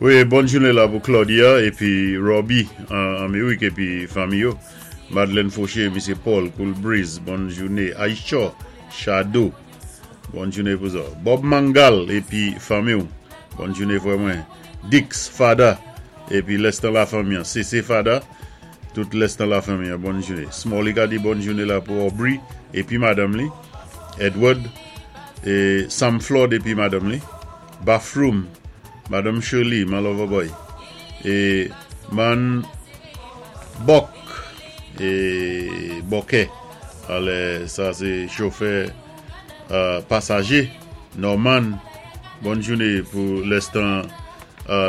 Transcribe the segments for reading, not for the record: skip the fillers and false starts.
Wi, bòn jouné la pou Claudia épi Robbie an Amérik épi fanmi yo. Madeleine Fauché, Misyé Paul, Cool Breeze, bòn jouné. Aïcha Shadow, bòn jouné pou zòt. Bob Mangal épi fanmi ou, bòn jouné frè mwen. Dix Fada épi lèstan lafanmi an. CC Fada, tout lèstan lafanmi an, bòn jouné. Smalley ka di bòn jouné la pou Aubrey épi madanm li. Edward é Sam Flood épi madanm li. Bathroom, Madanm Shirley, man Loverboy é man Buck é Bòkè alè sa sé chofè pasajé Norman bòn jouné pou lèstan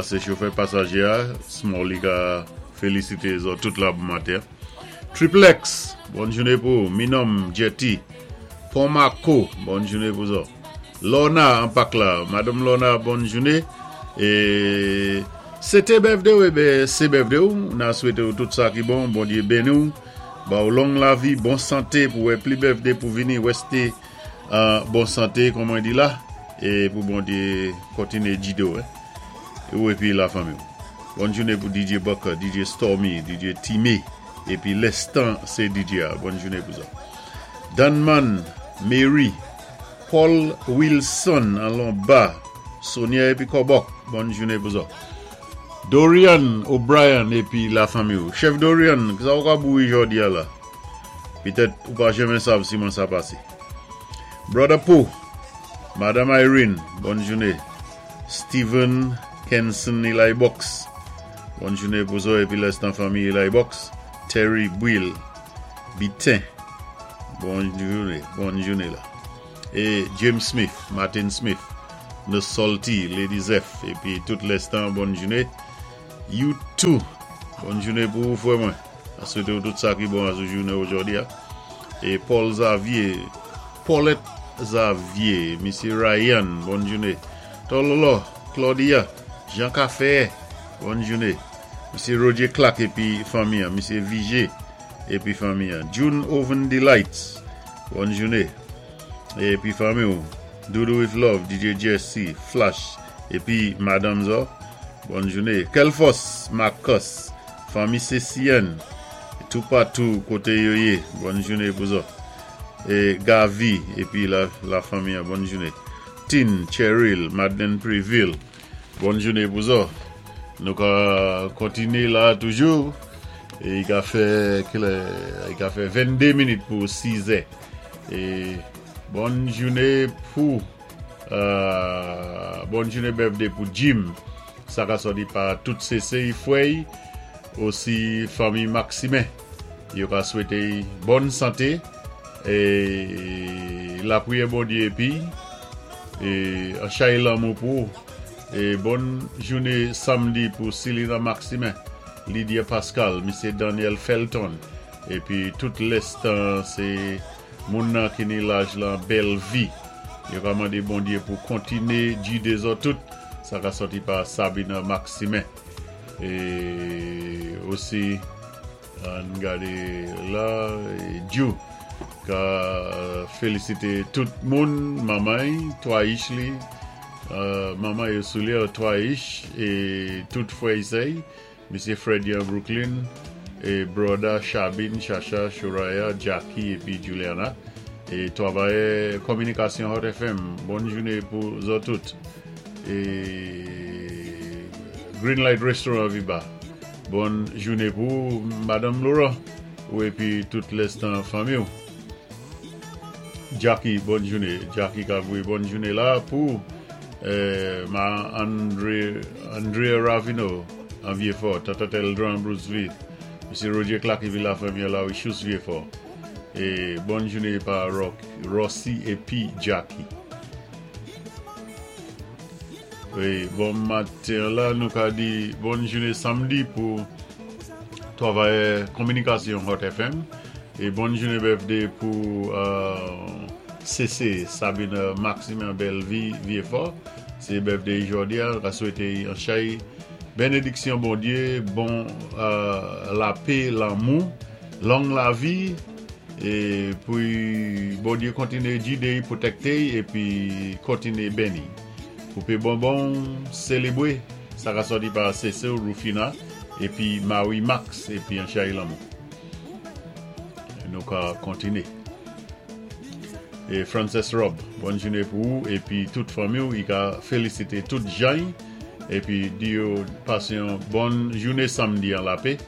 sé chofè pasajé a Smalley ka félisité zòt tout la bon maten Triplex bòn jouné pou ou Minòm Jetty Pon Mako bòn jouné pou zòt. Lorna an pak la. Madanm Lorna bòn joune. E se te birthday w eben se birthday w na swete w tout sa ki bon Bondye beni w ba w long lavi bon sante pou wè pli birthday pou vini reste an bon sante kon mwen di la e pou Bondye kontinye gide w ou epi la fanmi w bòn joune pou DJ Bucker DJ Stormy DJ Time epi Lestan se DJ a bòn joune pou sa Danman Mary Paul Wilson an Lomba, Sonia épi Kòbòk, bòn jouné pou zòt. Dorian O'Brien épi la fanmi ou. Chèf Dorian, kisa ou ka bouwi jòdi a la? Pitèt ou pa janmen sav siman sa pasé. Brother Poe, Madam Irene, bòn jouné. Steven Kenson Eli Box, bòn jouné pou zòt épi lèstan fanmi Eli Box. Terry Buil Biten, bòn jouné, bòn jouné la. É James Smith, Martin Smith, No Salty, Lady Zeph épi tout lèstan bòn jouné. You too, bòn jouné pou ou frè mwen. A swété ou tout sa ki bon asou jouné ojòdi a. É Paul Xavier, Paulette Xavier, Misyé Ryan, bòn jouné. Tòlòlò, Claudia, Jean Café, bòn jouné. Misyé Roger Clark épi fanmi an, Misyé Vigé épi fanmi an. June Oven Delights, bòn jouné. Épi fanmi ou, Doudou with Love, DJ Jesse, Flash, épi Madanm zò, bòn jouné. Kelfos Marcus, fanmi Cécienne, toupatou koté yo yé, bòn jouné pou zò. É Gavi épi la la fanmi an, bòn jouné. Tin, Cheryl, Madeleine Préville, bòn jouné pou zò. Nou ka kontiné la toujou. É i ka fè kilè? I ka fè 22 minit pou 6 è. É bòn jouné pou bòn jouné birthday pou Jim. Sa ka sòti pa tout sese i frè i, osi fanmi Maximin. Yo ka swété i bòn santé é lapriyè Bondye épi é an chay lanmou pou ou. É bòn jouné samdi pou Silina Maximin, Lydia Pascal, Misyé Daniel Felton épi tout lèstan sé moun nan ki ni laj lan bèl vi. Yo ka mandé Bondye pou kontiné gidé zòt tout sa ka sòti pa Sabina Maximin. É osi Ann gade la Djou ka felisite tout moun manman y 3 ich li manman yo sou li 3 ich e tout frè y sè y mesye Freddy an Brooklyn e broda Chabin Chacha Shoraya Jacky epi Juliana e travayè kominikasyon Hot FM bòn joune pou zòt tout e Green Light Restaurant Viba. Bòn joune pou ou Madanm Laurent ou epi tout lèstan fanmi w. Jacky bòn joune. Jacky ka voye bòn joune la pou ma Andre Andrea Ravino an Vyefò, Tata Teldran Bruceville, Mesye Roger Clark epi la fanmi an la wi Chous Vyefò. E bòn joune pa Rossy epi Jacky. Wi, bon maten la nou ka di bòn joune samdi pou travayè kominikasyon Hot FM e bòn joune birthday pou CC Sabine Maximin Bellevie Vieux-Fort se birthday jodi a nou ka swete yon chay benediksyon Bondye bon lapè lanmou long lavi e pou Bondye kontinye gide pwotekte epi kontinye beni. Koupe bonbon w, selebre. Sa ka sòti pa Cecile Rufina épi Marie Max épi an chay lanmou. Nou ka kontiné. É Frances Rob, bòn jouné pou ou épi tout fanmi-w. I ka félisité tout jany épi di yo pasé yon bòn jouné samdi an lapé.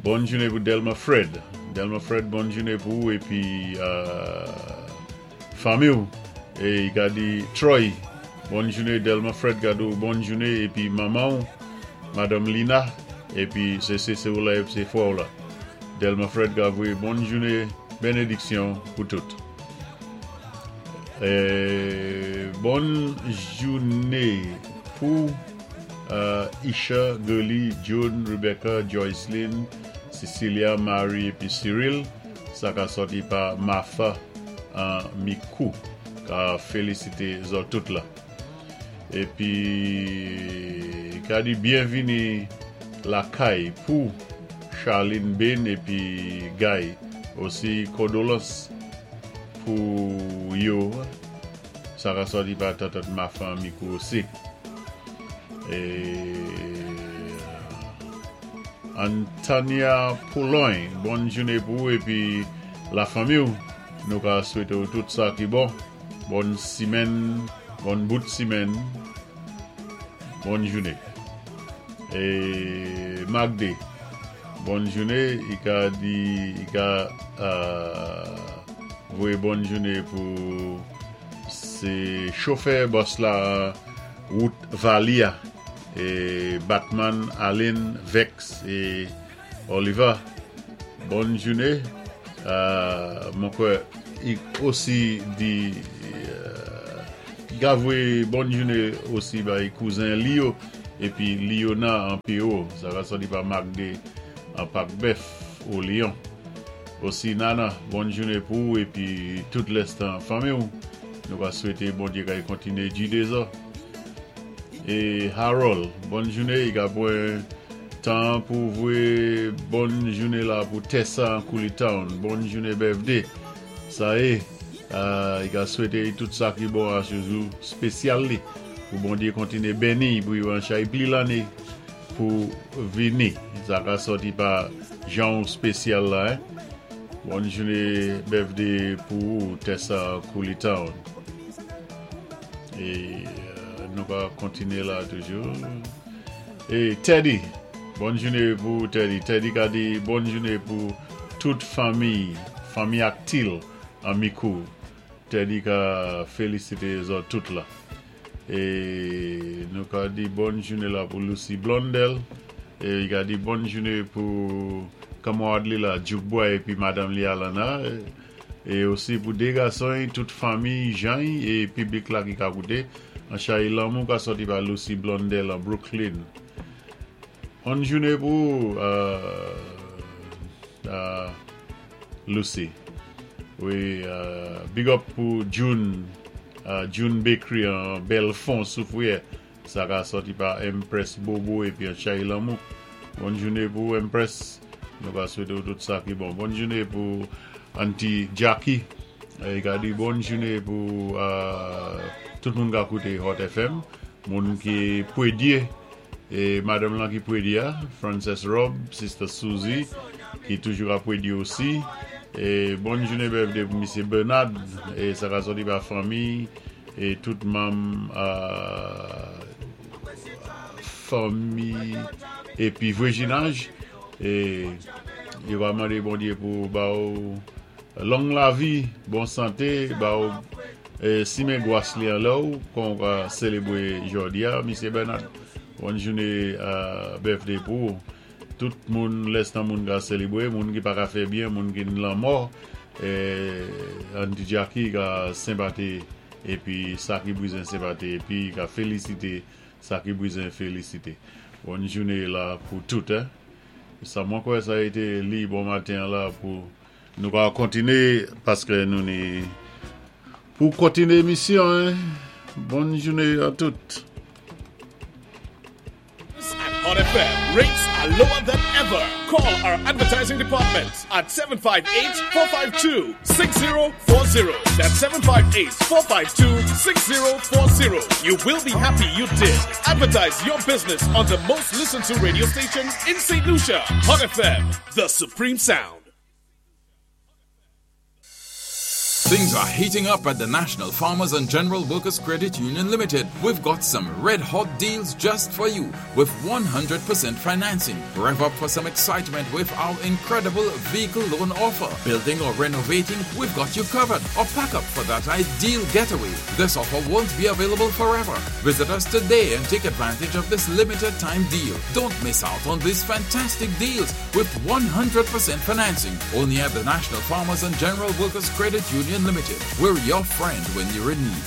Bòn jouné pou Delma Fred. Delma Fred, bòn jouné pou ou épi fanmi-w. É i ka di Troy, bòn jouné. Delma Fred ka di-w bòn jouné épi manman-w, Madanm Lina, épi sé séséw la épi sé fwè-w la. Delma Fred ka voyé bòn jouné bénédiksyon pou tout. É bòn jouné pou Isha, Gurley, June, Rebecca, Joycelyn, Cecilia, Marie épi Cyril. Sa ka sòti pa Martha an Mikou ka félisité zòt tout la. Épi ka di byenvini lakay pou Charlene Bain épi Guy osi, kondolans pou yo. Sa ka sòti pa tantant Martha an Mikou osi. É Antania Poulogne, bòn jouné pou ou épi lafanmi-w. Nou ka swété-w tout sa ki bon. Bòn simèn, bòn bout simèn, bòn jouné. É Magde, bòn jouné, i ka di, i ka voyé bòn jouné pou sé chofè bòs la wout Vali a, é Batman, Aline, Vex é Oliver, bòn jouné. Mwen kwè i osi di i ka voyé bòn jouné osi bay kouzen li yo épi Liona an P.O. Sa ka sòti pa Magde an Pak Bèf o Lyon. Osi Nana, bòn jouné pou ou épi tout lèstan fanmi-w. Nou ka swété Bondyé kay kontiné gidé zò. É Harold, bòn jouné. I ka pwan tan pou voyé bòn jouné la pou Tessa an Kouli Town. Bòn jouné birthday. Sa yé, i ka swété i tout sa ki bon a sé jou spésyal li. Pou Bondyé kontiné benni pou yo an chay pli lanné pou vini. Sa ka sòti pa jan ou spésyal la, hein. Bòn jouné birthday pou ou Tessa an Kouli Town. É nou ka kontiné la toujou. É Teddy, bòn jouné pou ou Teddy. Teddy ka di bòn jouné pou tout fanmi, fanmi Aktil an Mikou. Teddy ka félisité zòt tout la. É nou ka di bòn jouné la pou Lucy Blondel. É i ka di bòn jouné pou kanmarad li la Duke Boy épi madanm li Alana. É osi pou dé gason-y, tout fanmi Jean-y é piblik la ki ka kouté. An chay lanmou ka sòti pa Lucy Blondel an Brooklyn. On jouné pou ou Lucy. Wi, big up pou June, June Bakery an Belfond Soufrière. Sa ka sòti pa Empress Bobo épi an chay lanmou. Bòn jouné pou ou Empress. Nou ka swété ou tout sa ki bon. Bòn jouné pou Auntie Jackie. I ka di bòn jouné pou tout moun ka kouté Hot FM. Moun ki Pwédyé é madanm lan ki Pwédyé a, Frances Rob, Sister Suzy ki toujou ka Pwédyé osi. É bòn jouné birthday pou Misyé Bernard. É sa ka sòti pa fanmi é tout manm fanmi épi vwezinaj. É yo va mandé Bondyé pou ba ou long lavi, bon santé, ba ou simen gwas li anlè ou kon ou ka sélébwé jòdi a, Misyé Bernard. Bòn jouné birthday pou ou. Tout moun lèstan moun ka sélébwé, moun ki pa ka fè byen, moun ki n lanmò, Auntie Jackie ka senpati épi sa ki bwizen senpati épi ka félisité sa ki bwizen félisité. Bòn jouné la pou tout. Sa mwen kwè sa été li bon maten an la pou nou ka kontiné paské nou ni pou kontiné émisyon. Bòn jouné a tout. Ak Hot. Hot FM. Rates are lower than ever. Call our advertising department at 758-452-6040. That's 758-452-6040. You will be happy you did. Advertise your business on the most listened to radio station in St. Lucia. Hot FM, the supreme sound. Things are heating up at the National Farmers and General Workers Credit Union Limited. We've got some red hot deals just for you with 100% financing. Rev up for some excitement with our incredible vehicle loan offer. Building or renovating, we've got you covered. Or pack up for that ideal getaway. This offer won't be available forever. Visit us today and take advantage of this limited time deal. Don't miss out on these fantastic deals with 100% financing only at the National Farmers and General Workers Credit Union Limited. We're your friend when you're in need.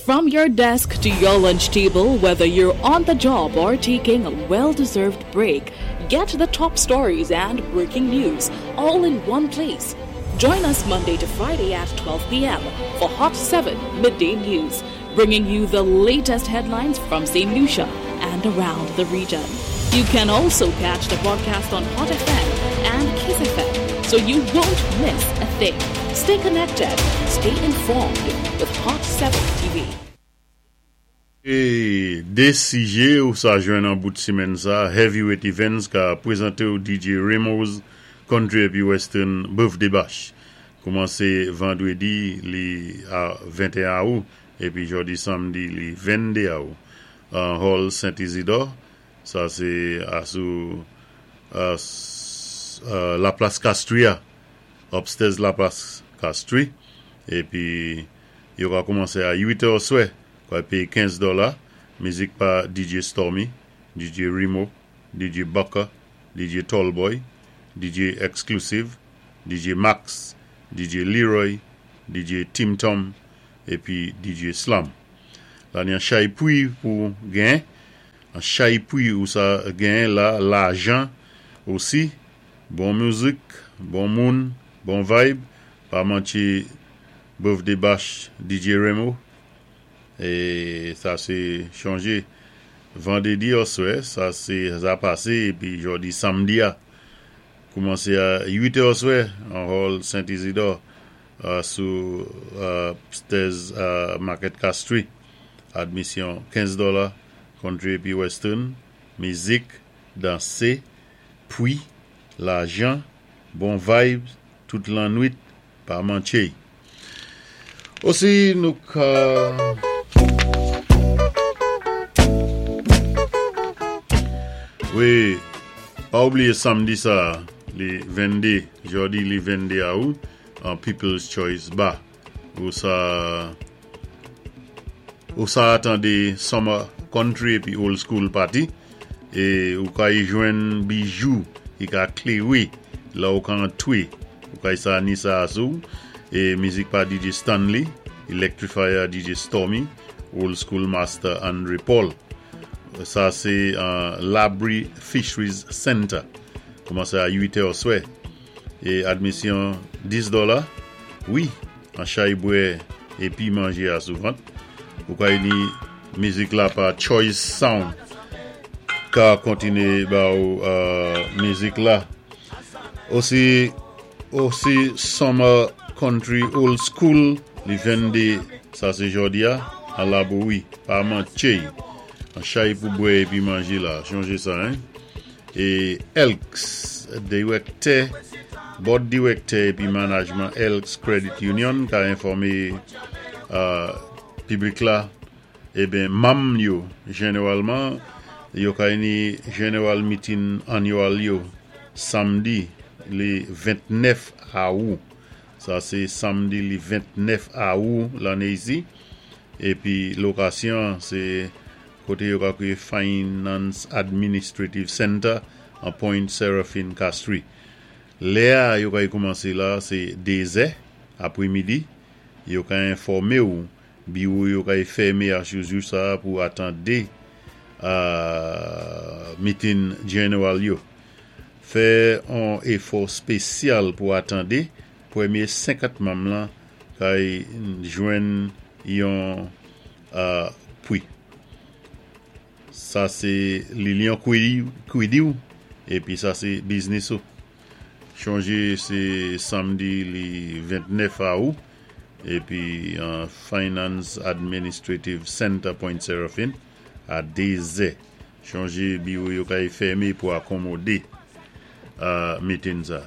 From your desk to your lunch table, whether you're on the job or taking a well deserved break, get the top stories and breaking news all in one place. Join us Monday to Friday at 12 p.m. for Hot 7 Midday News, bringing you the latest headlines from St. Lucia and around the region. You can also catch the broadcast on Hot FM and Kiss FM, so you won't miss a thing. Stay connected, stay informed with Hot 7 TV. É dé sijé ou sa jwenn an bout simenn sa, Heavyweight Events ka pwézanté-w DJ Remo's Country épi Western Birthday Bash. Koumansé vandwédi li a 21 awou épi jòdi samdi li 22 awou an Hall Saint Isidore, sa sé asou La Place Castries a, upstairs La Place Castries, épi yo ka koumansé a 8 è oswè, pway péyé 15 dòla, mizik pa DJ Stormy, DJ Remo, DJ Bucker, DJ Tallboy, DJ Exclusive, DJ Max, DJ Leroy, DJ Tim Tom, épi DJ Slam. La ni an chay pwi pou gen, an chay pwi ou sa gen la, lajan osi, bon mizik, bon moun, bon vibe, pa manké Birthday Bash DJ Remo, é sa sé chonjé vandwédi oswè, sa sé sa pasé, épi jòdi samdi a, koumansé a 8 è oswè, an Hall Saint Isidore, sou upstairs Market Castries. Admisyon 15 dòla, country épi western, mizik, dansé, pwi, lajan, bon vibes, tout lannwit, pa manké. Osi nou ka Wi, pa oubliyé samdi sa, li 22, jòdi li 22 awou, an People's Choice Bar. Ou sa ou sa atandé Summer Country épi Old School Party é ou ka y jwenn bijou ki ka kléwé la ou ka antwé ou ka y sa ni sa asou é mizik pa DJ Stanley, Electrifier DJ Stormy, Old School Master Andre Paul. Sa sé an Labrie Fisheries Center. Koumansé a 8 è oswè. É admisyon 10 dòla. Wi, an chay bwè épi manjé asou vant. Ou ka ni mizik la pa Choice Sound ka kontiné ba ou mizik la. Osi osi Summer Country Old School li 22 sa sé jòdi a an Labouri pa manké an chay pou bwè épi manjé la chonjé sa hein. É Elks direktè Board direktè épi manajman Elks Credit Union ka enfòmé piblik la eben manm yo jeneralman yo ka ni general meeting annual yo samdi li 29 awou sa sé samdi li 29 awou lanné isi épi lokasyon sé koté yo ka kwiyé Finance Administrative Center an Point Seraphine Castries. Lè a yo ka koumansé la sé 2 zè apwémidi, yo ka enfòmé ou biwo yo ka fèmé asou jou sa pou atandé meeting general yo. Fè an éfò spésyal pou atandé pwémyé 50 manm lan ka jwenn yon pwi. Sa sé Lilian Kwidiw épi sa sé biznis ou. Chonjé sé samdi li 29 Aou épi an Finance Administrative Center Point Seraphine a 2 zè. Chonjé biwo yo kay fèmé pou akonmodé meeting sa.